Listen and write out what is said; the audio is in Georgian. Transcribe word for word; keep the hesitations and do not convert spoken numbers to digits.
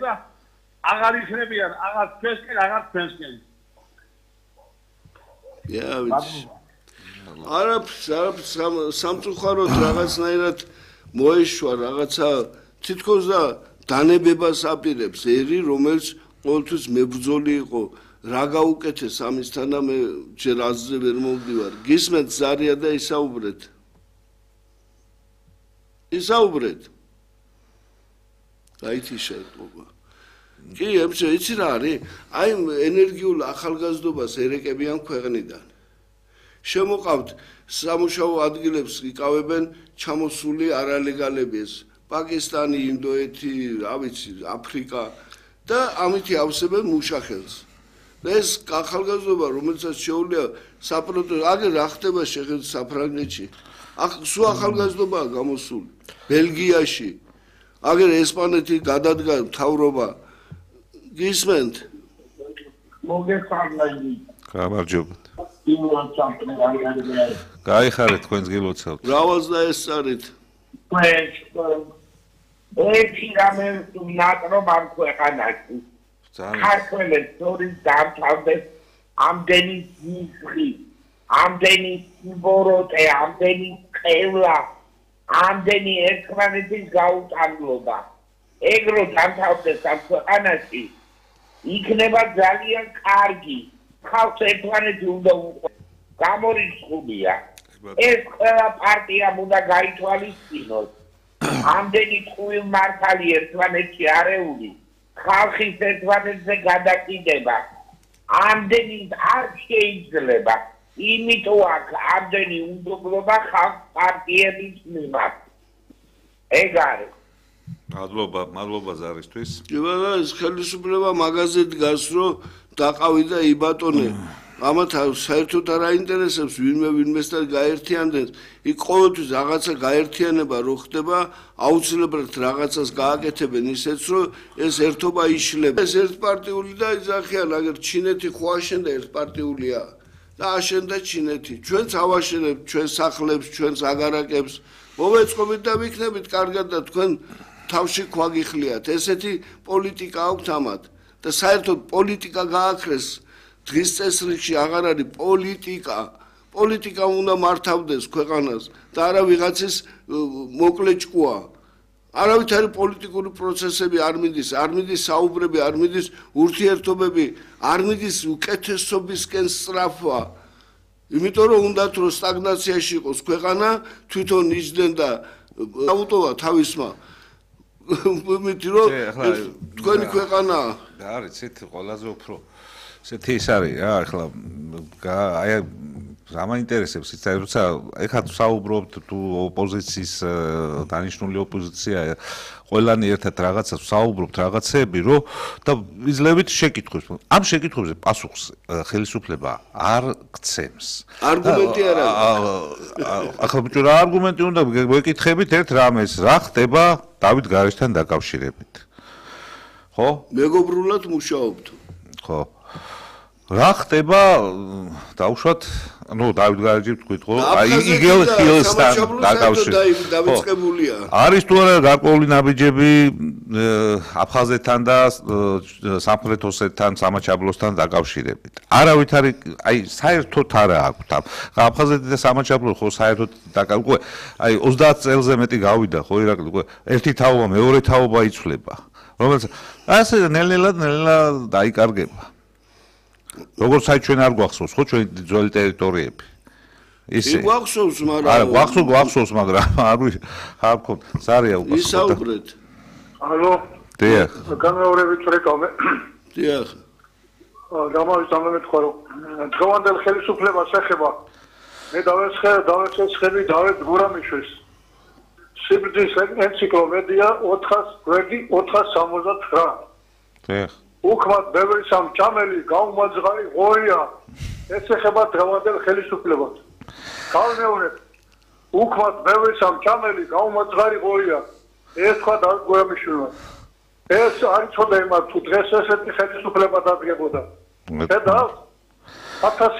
და აღარ იქნებიან, აღარ ჩვენსკენ, აღარ ჩვენსკენ. Ja, ვიცი. არაფერს, არაფერს სამწუხაროდ რაღაცნაირად მოეშვა რაღაცა თითქოს და დანებებას აპირებს ერი, რომელიც ყოველთვის მებრძოლი იყო. რა გაუკეთეს ამისთან და მე ჯერ აზრზე ვერ მომდივარ. გისმენთ ზარია და ისაუბრეთ. ისაუბრეთ. გაიცი შეეტყობა. კი, ემჩე, იცი რა არის? აი ენერგიულ ახალგაზრდობას ერეკებიან ქვეყნიდან. შემოყავთ სამუშაო ადგილებს იკავებენ ჩამოსული არალეგალები ეს პაკისტანი, ინდოეთი, რა ვიცი, აფრიკა და ამითი ავსებენ მუშახელს. ეს ახალგაზრდობა, რომელსაც შეუძლია საპროტესტო, აგერ რა ხდება შეხედვით საფრანგეთში. ახ სულ ახალგაზრდობაა გამოსული. ბელგიაში, აგერ ესპანეთი გადადგა მთავრობა. გისმენთ? მოგესალმებით. გამარჯობა. გაიხარეთ თქვენს გილოცავთ. რავალს დაესწარით? ერთი რამე ნაკრობ ამ ქვეყანაში. ქართველებს თორის დამთავრდეს ამდენი ძიძღი, ამდენი ბოროტე, ამდენი ყევლა, ამდენი ერთმანეთის გაუტანლობა. ეგრო დამთავრდეს ამ ქვეყანაში იქნება ძალიან კარგი. ხალხს ერთმანეთი უნდა უყვარდეს. გამორიცხულია. ეს ყველა პარტიამ უნდა გაითვალისწინოს. ამდენი ტყუილმართალი ერთმანეთში არეული. ხალხის ერთმანეთზე გადაკიდება. ამდენი არ შეიძლება. იმიტომ აქ ამდენი უნდობლობა ხალხ პარტიების მიმართ. ეგ არის. მადლობა, მადლობა ზარისთვის. კი ბატონო, ეს ხელისუფლება მაგაზე დგას, რომ დაყავი და იბატონე. ამათ საერთოდ არ აინტერესებს ვინმე ვინმესთან გაერთიანდეს. იქ ყოველთვის რაღაცა გაერთიანება რო ხდება, აუცილებლად რაღაცას გააკეთებენ ისეც, რომ ეს ერთობა იშლება. ეს ერთპარტიული და იძახიან, აგერ ჩინეთი ხო აშენდა ერთპარტიულია და აშენდა ჩინეთი. ჩვენც ავაშენებთ ჩვენ სახლებს, ჩვენს აგარაკებს. მოვეწყობით და ვიქნებით კარგად და თქვენ თავში ქვაგიხლიათ. ესეთი პოლიტიკა აქვთ ამათ და საერთოდ პოლიტიკა გააქრეს. დღის წესრიგში აღარ არის პოლიტიკა. პოლიტიკა უნდა მართავდეს ქვეყანას და არა ვიღაცის მოკლე ჭკუა. არავითარი პოლიტიკური პროცესები არ მიდის, არ მიდის საუბრები, არ მიდის ურთიერთობები, არ მიდის უკეთესობისკენ სწრაფვა. იმიტომ რომ უნდათ რომ სტაგნაციაში იყოს ქვეყანა, თვითონ იჯდნენ და აუტოვა თავისმა. მითი რომ თქვენი ქვეყანაა. არის ცით ყველაზე უფრო ესეთი ის არის რა ახლა აი რა მაინტერესებს იცი როცა ეხლა საუბრობთ თუ ოპოზიციის დანიშნული ოპოზიცია ყველანი ერთად რაღაცას საუბრობთ რაღაცები რომ და იძლევით შეკითხვებს ამ შეკითხვებზე პასუხს ხელისუფლება არ გცემს არგუმენტი არ არის ახლა ბიჭო რა არგუმენტი უნდა გვეკითხებით ერთ რამეს რა ხდება დავით გარეშთან დაკავშირებით ხო მეგობრულად მუშაობთ ხო რა ხდება დავუშვათ ну დავით გარეჯი თქვით ხო აი იგელ ხილსთან დაკავშირებით დავიწყებულია არის თუ არა გარკვეული ნაბიჯები აფხაზეთთან და სამხრეთ ოსეთთან სამაჩაბლოსთან დაკავშირებით არავით არის აი საერთოდ არა აქვთ აფხაზეთი და სამაჩაბლო ხო საერთოდ დაკავშირებული აი ოცდაათ წელზე მეტი გავიდა ხო ირაკლი ერთი თაობა მეორე თაობა იცვლება რომელიც ასე ნელ-ნელად ნელ-ნელად დაიკარგება როგორც აი ჩვენ არ გვახსოვს ხო ჩვენ ძველი ტერიტორიები ისე გვახსოვს მაგრამ არა გვახსოვს გვახსოვს მაგრამ არ არ მქონდა ზარია უკვე ისაუბრეთ ალო დიახ გამეორებით რეკავე დიახ გამოვიცანე მეთქვა რომ დღევანდელ ხელისუფლებას ეხება მე დავესხე დავესხები დავეთ გურამიშვილს სიბრძის ენციკლოპედია ოთხას სამოცდათვრამეტ დიახ უქმად ბევრი სამჭამელი გაუმაძღარი ღორია ეს ეხება დღევანდელ ხელისუფლებას გავმეორებ უქმად ბევრი სამჭამელი გაუმაძღარი ღორია ეს თქვა დავით გურამიშვილმა ეს არ იცოდა იმათ თუ დღეს ესეთი ხელისუფლება დადგებოდა და